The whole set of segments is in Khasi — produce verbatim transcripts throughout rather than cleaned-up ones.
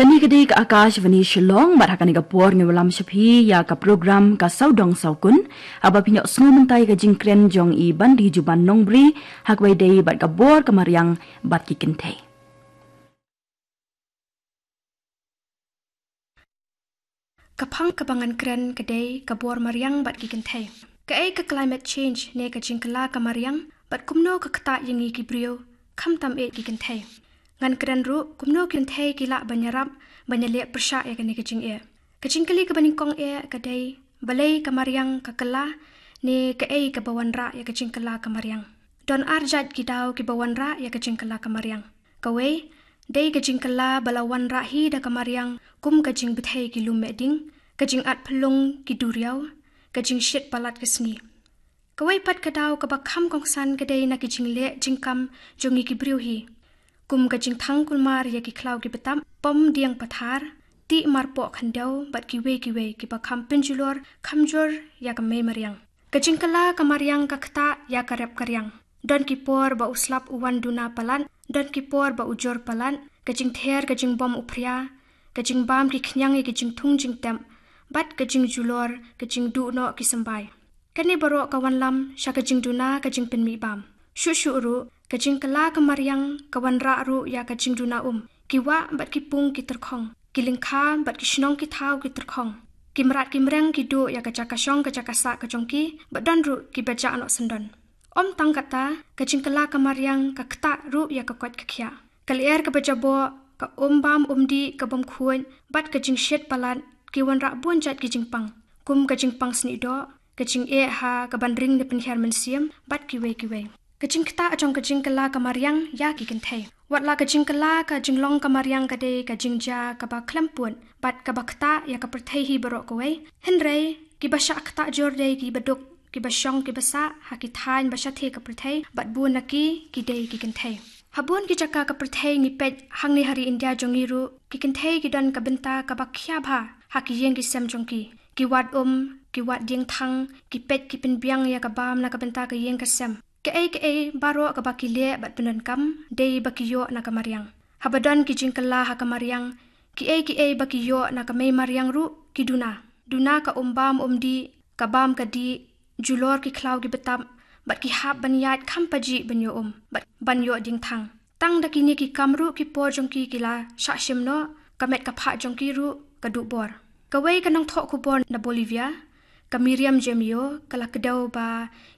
Kane ka dei ka Akashvani Shillong, bad ha kane ka por ngi wallam sha phi ïa ka program Ka Sawdong Sawkun, haba phin ïohsngew mynta ïa ka jingkren jong i Bandijuban Nongbri, ha kaba ïadei bad ka bor ka mariang bad ki kynthei. Ka phang kaba ngan kren ka dei ka bor mariang bad ki kynthei. Kaei ka climate change ne ka jingkylla ka mariang, bad kumno ka ktah ïa ngi ki briew, khamtam eh ki kynthei. Ngan kren ruh kumno ki kynthei ki lah ban ïarap ban ïaleh pyrshah ïa kane ka jingeh. Ka jingkylli kaba nyngkong eh ka dei, balei ka mariang ka kylla, ne kaei kaba wanrah ïa ka jingkylla ka mariang. Don ar jait ki daw kiba wanrah ïa ka jingkylla ka mariang. Kawei, dei ka jingkylla ba la wanrah hi da ka mariang, kum ka jingbthei ki lum mehding, ka jingat phyllung ki duriaw, ka jingshit palat ka sngi. Kawei pat ka daw kaba kham kongsan ka dei na ki jingleh jingkam jong ngi ki briew hi, kum ka jingthang kulmar ïa ki khlaw ki btap, pom dieng pathar, tih marpoh khyndew, bad kiwei kiwei kiba kham pynjulor, kham jur ïa ka mei mariang. Ka jingkylla ka mariang ka ktah ïa ka rep ka riang. Don ki por ba u slap u wan duna palat, don ki por ba u jur palat, ka jingther ka jingbom u phria, ka jingbam ki khñiang ïa ki jingthung jingtep, bad ka jingjulor, ka jingduh noh ki symbai. Kane baroh ka wanlam sha ka jingduna ka jingpynmih bam. Shuh shuh ruh, ka jingkylla ka mariang ka wanrah ruh ïa ka jingduna um. Ki wah bad ki pung ki tyrkhong, ki lyngkha bad ki shnong ki thaw ki tyrkhong. Ki mrad ki mreng ki duh ïa ka jaka shong ka jaka sah ka jong ki, bad don ruh kiba jah noh syndon. Ym tang katta, ka jingkylla ka mariang ka ktah ruh ïa ka koit ka khiah. Ka lyer kaba jaboh, ka um bam um dih ka bym khuid, bad ka jingshit palat, ki wanrah bun jait ki jingpang, kum ka jingpang snieh doh, ka jingeh ha kaban ring ne pynhiar mynsiem, bad kiwei kiwei. Ka jingktah jong ka jingkylla ka mariang ïa ki kynthei. Wat la ka jingkylla ka jinglong ka mariang ka dei ka jingjia kaba khlem pud, bad kaba ktah ïa ka pyrthei hi baroh kawei. Hynrei, kiba shah ktah jur dei kiba duk, kiba shong kiba sah ha ki thaiñ ba shathie ka pyrthei, bad bun na ki ki dei ki kynthei. Ha bun ki jaka ka pyrthei ngi peit, hangne ha ri India jong ngi ruh, ki kynthei ki don ka bynta kaba khia bha ha ki ïing ki sem jong ki. Ki wad um, ki wad diengthang, ki peit ki pynbiang ïa ka bam na ka bynta ka ïing ka sem. Kaei kaei baroh kaba ki leh bad pyndonkam, dei ba ki ïoh na ka mariang. Haba don ki jingkylla ha ka mariang, kiei kiei ba ki ïoh na ka mei mariang ruh ki duna. Duna ka um bam um dih, ka bam ka dih, julor ki khlaw ki btap, bad ki hap ban ïaid kham pajih ban ïoh um, bad ban ïoh diengthang. Tang da kine ki kam ruh ki por jong ki ki la shah shim noh, ka met ka phah jong ki ruh ka duh bor. Kawei ka nongthoh khubor na Bolivia, ka Miriam Jamio, ka la kdew ba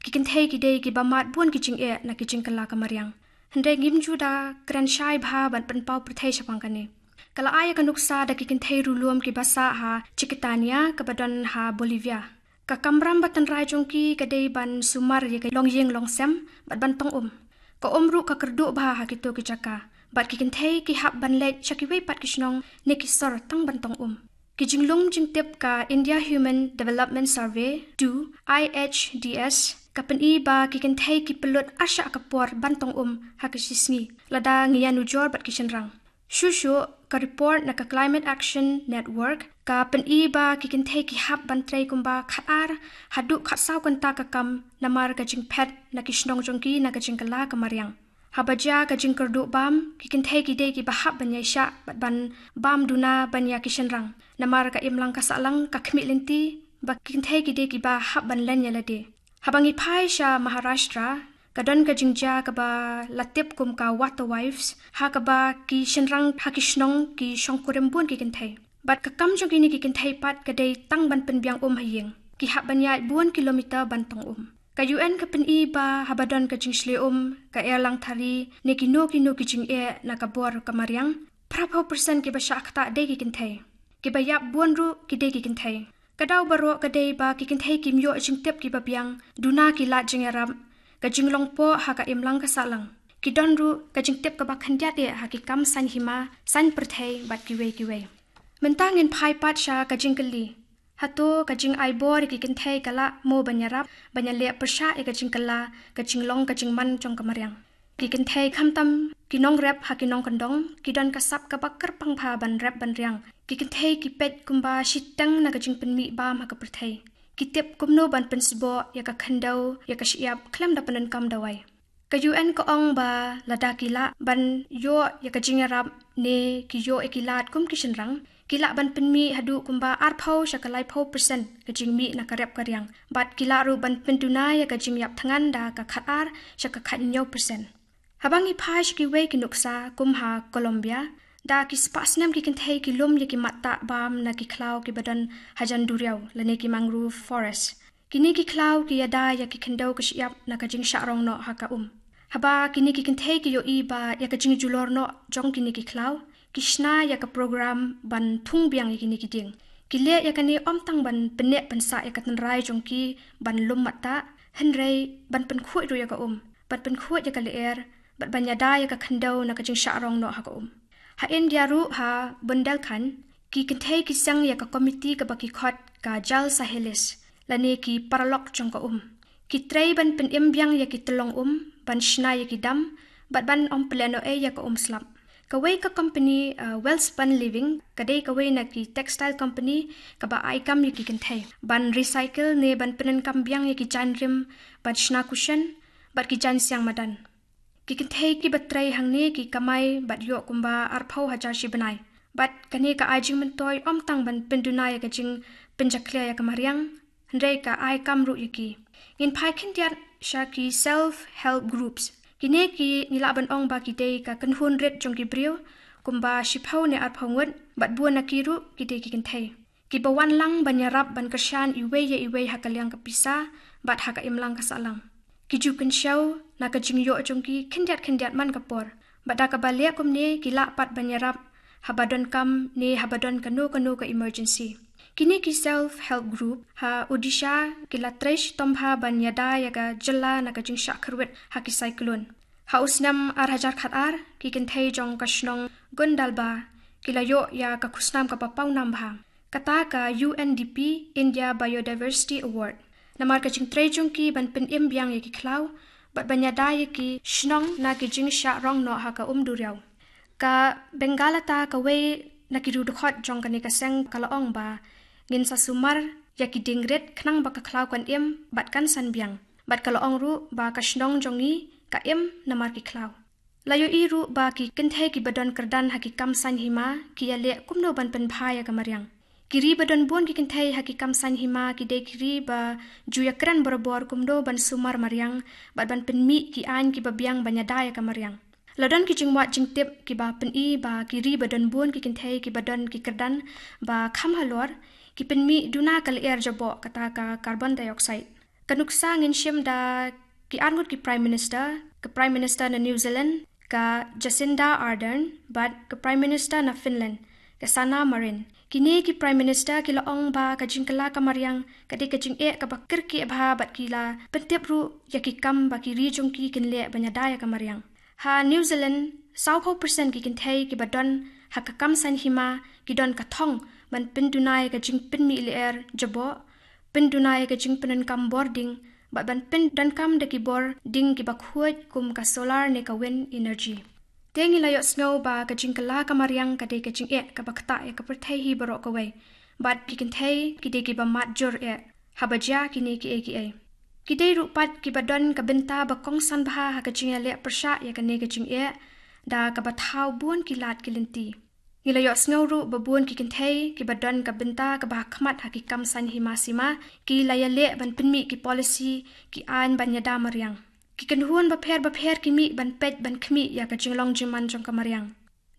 ki kynthei ki dei kiba mad bun ki jingeh na ki jingkylla ka mariang. Hynrei ngim ju da kren shai bha ban pynpaw pyrthei shaphang kane. Ka la ai ïa ka nuksa da ki kynthei riewlum kiba sah ha Chiquitania kaba don ha Bolivia. Ka kamram ba tynrai jong ki ka dei ban sumar ïa ka longïing longsem bad ban tong um. Ka um ruh ka kyrduh bha ha kito ki jaka. Bad ki kynthei ki hap ban leit sha kiwei pat ki shnong ne ki sor tang ban tong um. Ki jinglong jingtip ka India Human Development Survey, two, I H D S, ka pyni ba ki kynthei ki pynlut arshah ka por ban tong um ha ka shi sngi, lada ngi ïanujor bad ki shynrang. Shuh shuh, ka report na ka Climate Action Network ka pyni ba ki kynthei ki hap ban trei kumba khatar haduh khatsaw kynta ka kam, namar ka jingphet na ki shnong jong ki na ka jingkylla ka mariang. Haba jia ka jingkyrduh bam, ki kynthei ki dei kiba hap ban ïaishah bad ban bam duna ban ïa ki shynrang. Namar ka imlang ka sahlang ka khmih lynti ba ki kynthei ki dei kiba hap ban len ïa lade. Haba ngi phai sha Maharashtra, ka don ka jingjia kaba la tip kum ka Water Wives, ha kaba ki shynrang ha ki shnong ki shongkurim bun ki kynthei. Bad ka kam jong kine ki kynthei pat ka dei tang ban pynbiang um ha ïing. Ki hap ban ïaid bun kilometer ban tong um. Ka U N ka pyni ba haba don ka jingshlei um, ka erlang thari, ne kino kino ki jingeh na ka bor ka mariang, phraphew percent kiba shah ktah dei ki kynthei. Kiba ïap bun ruh ki dei ki kynthei. Ka daw baroh ka dei ba ki kynthei kim ïoh jingtip kiba biang, duna ki lad jingïarap, ka jinglong poh ha ka imlang ka sahlang. Ki don ruh ka jingtip kaba khyndiat eh ha ki kam saiñ hima, saiñ pyrthei bad kiwei kiwei. Mynta ngin phai pat sha ka jingkylli. Hato ka jingai bor ïa ki kynthei ka lah mo ban ïarap ban ïaleh pyrshah ïa ka jingkylla, ka jinglong ka jingman jong ka mariang? Ki kynthei khamtam ki nongrep ha ki nongkyndong, ki don ka sap kaba kyrpang bha ban rep ban riang. Ki kynthei ki peit kumba shiteng na ka jingpynmih bam ha ka pyrthei. Ki tip kumno ban pynsboh ïa ka khyndew, ïa ka shyiap khlem da pyndonkam dawai. Ka U N ka ong ba lada ki lah ban ïoh ïa ka jingïarap ne ki ïoh ïa ki lad kum ki shynrang, ki lah ban pynmih haduh kumba arphew sha ka laiphew percent ka jingmih na ka rep ka riang. Bad ki lah ruh ban pynduna ïa ka jingïap thngan da ka khat ar sha ka khat hynñiew percent. Haba ngi phai sha kiwei ki nuksa kum ha Colombia, da ki spah snem ki kynthei ki lum ïa ki mattah bam na ki khlaw kiba don hajan duriaw lane ki mangrove forest. Kine ki khlaw ki ïada ïa ki khyndew ka shyiap na ka jingshah rong noh ha ka um. Haba kine ki kynthei ki ïohi ba ïa ka jingjulor noh jong kine ki khlaw, ki shna ïa ka program ban thung biang ïa kine ki dieng. Ki leh ïa kane ym tang ban pynneh pynsah ïa ka tynrai jong ki ban lum mattah, hynrei ban pynkhuid ruh ïa ka um, ban pynkhuid ïa ka lyer, bad ban ïada ïa ka khyndew na ka jingshah rong noh ha ka um. Ha India ruh ha Bundelkhand, ki kynthei ki seng ïa ka komiti kaba ki khot ka Jal Sahelis, lane ki paralok jong ka um. Ki trei ban pynim biang ïa ki tyllong um, ban shna ïa ki dam, bad ban ym pynlehnohei ïa ka um slap. Kawei ka company, uh, Welspun Living, ka dei kawei na ki textile company kaba ai kam ïa ki kynthei ban recycle ne ban pyndonkam biang ïa ki jaiñ rim ban shna cushion bad ki jaiñ siang madan. Ki kynthei kiba trei hangne ki kamai bad ïoh kumba arphew hajar shi bnai. Bad kane ka ai jingmyntoi ym tang ban pynduna ïa ka jingpynjakhlia ïa ka mariang, hynrei ka ai kam ruh ïa ki. Ngin phai khyndiat sha ki self help groups. Kine ki ngi lah ban ong ba ki dei ka kynhun rit jong ki briew, kumba shiphew ne arphew ngut, bad bun na ki ruh ki dei ki kynthei. Kiba wan lang ban ïarap ban kyrshan iwei ïa iwei ha ka liang ka pisa, bad ha ka imlang ka sahlang. Ki ju kynshew na ka jingïoh jong ki khyndiat khyndiat man ka por. Bad da kaba leh kumne ki lah pat ban ïarap haba donkam ne haba don kano kano ka emergency. Kine ki self help group ha Odisha ki la trei shitom bha ban ïada ïa ka jylla na ka jingshah kyrwit ha ki cyclone. Ha u snem ar hajar khat ar, ki kynthei jong ka shnong Gundalba ki la ïoh ïa ka khusnam kaba pawnam bha. Kata ka U N D P, India Biodiversity Award. Namar ka jingtrei jong ki ban pynim biang ïa ki khlaw, bad ban ïada ïa ki shnong na ki jingshah rong noh ha ka um duriaw. Ka Bengalata kawei na ki riewdkhot jong kane ka seng ka la ong ba ngin sa sumar ïa ki dieng rit khnang ba ka khlaw kan im bad kan san biang. Bad ka la ong ruh ba ka shnong jong ngi ka im namar ki khlaw. La ïohi ruh ba ki kynthei kiba don kyrdan ha ki kam saiñ hima ki ïaleh kumno ban pynbha ïa ka mariang. Ki ri ba don bun ki kynthei ha ki kam saiñ hima ki dei ki ri ba ju ïakren barabor kumno ban sumar mariang, bad ban pynmih ki aiñ kiba biang ban ïada ïa ka mariang. La don ki jingwad jingtip kiba pyni ba ki ri ba don bun ki kynthei kiba don ki kyrdan ba kham halor, ki pynmih duna ka lyer jaboh kata ka carbon dioxide. Ka nuksa ngin shim da ki arngut ki Prime Minister, ka Prime Minister na New Zealand, ka Jacinda Ardern, bad ka Prime Minister na Finland, ka Sanna Marin. Kine ki Prime Minister ki la ong ba ka jingkylla ka mariang ka dei ka jingeh kaba kyrkieh bha, bad ki la pyntip ruh ïa ki kam ba ki ri jong ki kin leh ban ïada ïa ka mariang. Ha New Zealand, sawphew percent ki kynthei kiba don ha ka kam saiñ hima ki don ka thong ban pynduna ïa ka jingpynmih lyer jaboh, pynduna ïa ka jingpyndonkam bor ding, bad ban pyndonkam da ki bor ding kiba khuid kum ka solar ne ka wind energy. Te ngi la ïohsngew ba ka jingkylla ka mariang ka dei ka jingeh kaba ktah ïa ka pyrthei hi baroh kawei. Bad ki kynthei ki dei kiba mad jur eh haba jia kine kiei kiei. Ki dei ruh pat kiba don ka bynta ba kongsan bha ha ka jingïaleh pyrshah ïa kane ka jingeh, da kaba thaw bun ki lad ki lynti. Ngi la ïohsngew ruh ba bun ki kynthei kiba don ka bynta kaba ha khmat ha ki kam saiñ hima sima ki la ïaleh ban pynmih ki policy, ki aiñ ban ïada mariang. Ki kynhun bapher bapher ki mih ban peit ban khmih ïa ka jinglong jingman jong ka mariang.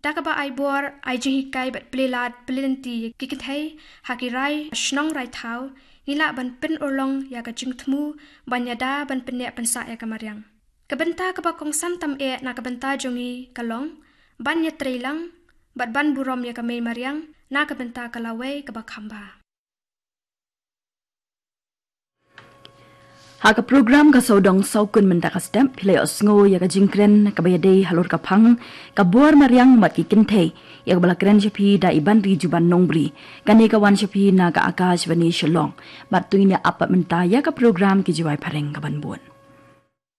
Da kaba ai bor, ai jinghikai bad plie lad plie lynti ïa ki kynthei ha ki rai shnong rai thaw, ngi lah ban pynurlong ïa ka jingthmu ban ïada ban pynneh pynsah ïa ka mariang. Ka bynta kaba kongsan tam eh na ka bynta jong ngi ka long ban ïatrei lang bad ban burom ïa ka mei mariang na ka bynta ka lawei kaba kham bha. Ha ka program Ka Sawdong Sawkun mynta ka step, phi la ïohsngew ïa ka jingkren kaba ïadei halor ka phang ka bor mariang bad ki kynthei, ïa kaba la kren sha phi da i Banri Juban Nongbri. Kane ka wan sha phi na ka Akashvani Shillong. Bad to ngin ïa ap pat mynta ïa ka program Ki Jwai Phareng kaban bud.